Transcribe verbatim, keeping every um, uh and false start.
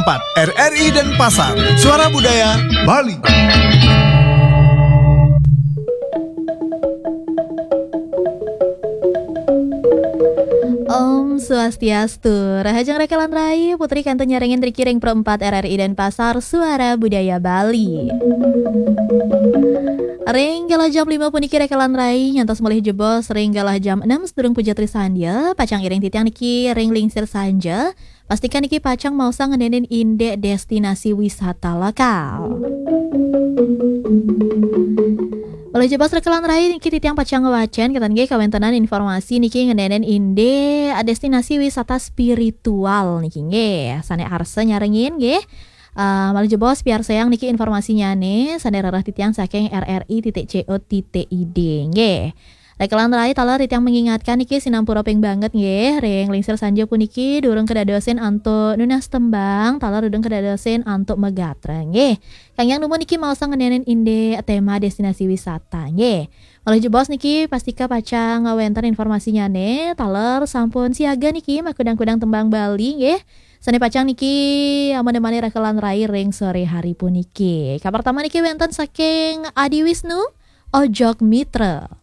empat R R I Denpasar, Suara Budaya Bali. Om Swastiastu. Rahajeng Rekelan Rai, Putri kantun nyarengin riki ring Pro empat R R I Denpasar, Suara Budaya Bali. Ring galah jam lima puniki Rekelan Rai, nyantos malih jebos ring galah jam enam sadurung puja trisandya, pacang iring titiang niki ring lingsir sanja. Pastikan niki pacang maosang ngenénin indik destinasi wisata lokal. Malih jebos Rekelan Rai niki titiang pacang ngwacén, kenten nggih, kawéntenan informasi niki ngenénin indik destinasi wisata spiritual niki nggih. Sané arsa nyarengin nggih. Eh, malih jebos piarsayang niki informasinyané sané rereh titiang saking R R I titik C O titik I D nggih. Rekelan Rai taler titiang mengingatkan niki sinampura ping banget nggih, ring lingsir sanja puniki durung kedadosin antuk nunas tembang, taler durung kedadosin antuk megatra nggih. Kang Yang Dumun niki maosang ngenénin indik tema destinasi wisata nggih. Malih jebos niki pastika pacang ngawénten informasinyané, taler sampun siaga niki makudang-kudang tembang Bali nggih. Sané pacang niki amanemani Rekelan Rai ring sore hari puniki. Kapertama niki wénten saking Adi Wisnu, Ojok Mitra.